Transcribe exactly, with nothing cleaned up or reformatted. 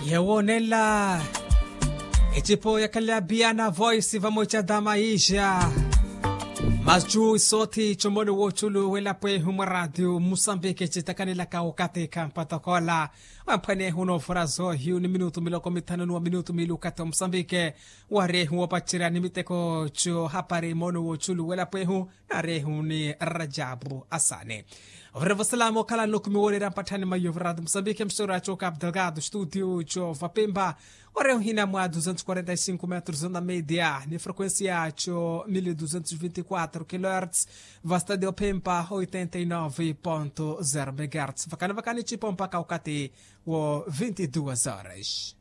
Yewo nela ecipo yakhala biana voice vamwe ca dama ija. Macu isothi comoni woculu welapo ehu mwa radio musambike citakanelaka okathi kampatokola. Wamphwanehu novora zohiyu ni minutu miloko mithanu ni wa minutu mili okathi wa musambike. Warehu wopacerya ni miteko co hapari mono woculu welapo ehu. Narehu ni rajabu asani. Ovira vosalama okhala nlukumi woolera mpatthani maiyo virato musambike msoro aco capo delgado studio co vapemba. Orehu hina mwa duzentos quarenta e cinco metros onda media ni frequencia co mil duzentos vinte e quatro kilohertz. Va stadio pemba oitenta e nove ponto zero megahertz vakani vakani cipo mpaka okati wo vinte e duas horas.